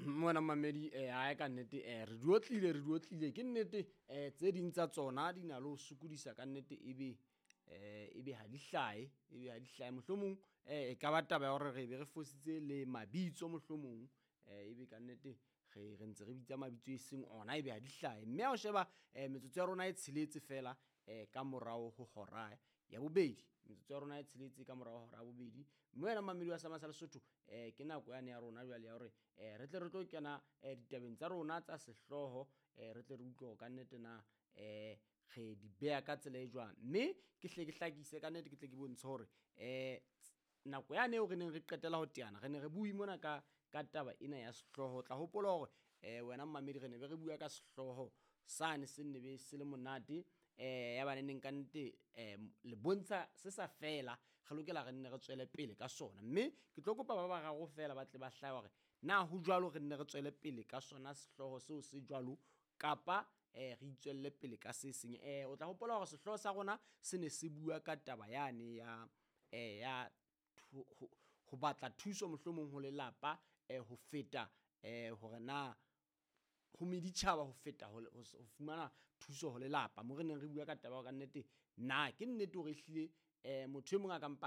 Mona mamedi ae ka nnete re di otlile, re di otlile ke nnete. Tse ding tsa tsona di na le ho sokodisa ka nnete, ebe ebe ha di hlahe, ebe ha di hlahe. Mohlomong e ka ba taba ya hore re be re fositse le mabitso, mohlomong ebe kannete re ntse re bitsa mabitso e seng ona, ebe ha di hlahe. Mme ha o sheba metsotso ya rona e tsheletse feela ka morao ho hora ya bobedi, metsotso ya rona e tsheletse ka morao hora ya bobedi. Mme wena mamedi wa Sama sa Lesotho, ke nako yane ya rona jwale ya hore re tle re tlo kena ditabeng tsa rona tsa sehlooho, re tle re utlwe hore kannete na re di beha ka tsela e jwang. Mme ke hle ke hlakise kannete, ke tle ke bontshe hore nako yane eo re neng re qetela ho teana, re ne re bue mona ka taba ena ya sehlooho. O tla hopola hore wena mmamedi re ne be re bua ka sehlooho sane se nne be se le monate, ya ba neneng kannete le bontsha se sa fela, re lokela re nne re tswele pele ka sona. Mme ke tlo kopa ba bararo feela ba tle ba hlahe hore na ho jwalo, re nne re tswele pele ka sona sehlooho seo se jwalo, kapa re itswelle pele ka se seng. O tla hopola hore sehlooho sa rona se ne se bua ka taba yane ya ya ho batla thuso mohlomong ho lelapa, ho feta hore na ho meditjhaba, ho feta ho fumana thuso ho lelapa. Mo re neng re bua ka taba ya hore kannete na ke nnete hore ehlile motho e mong a ka mpa.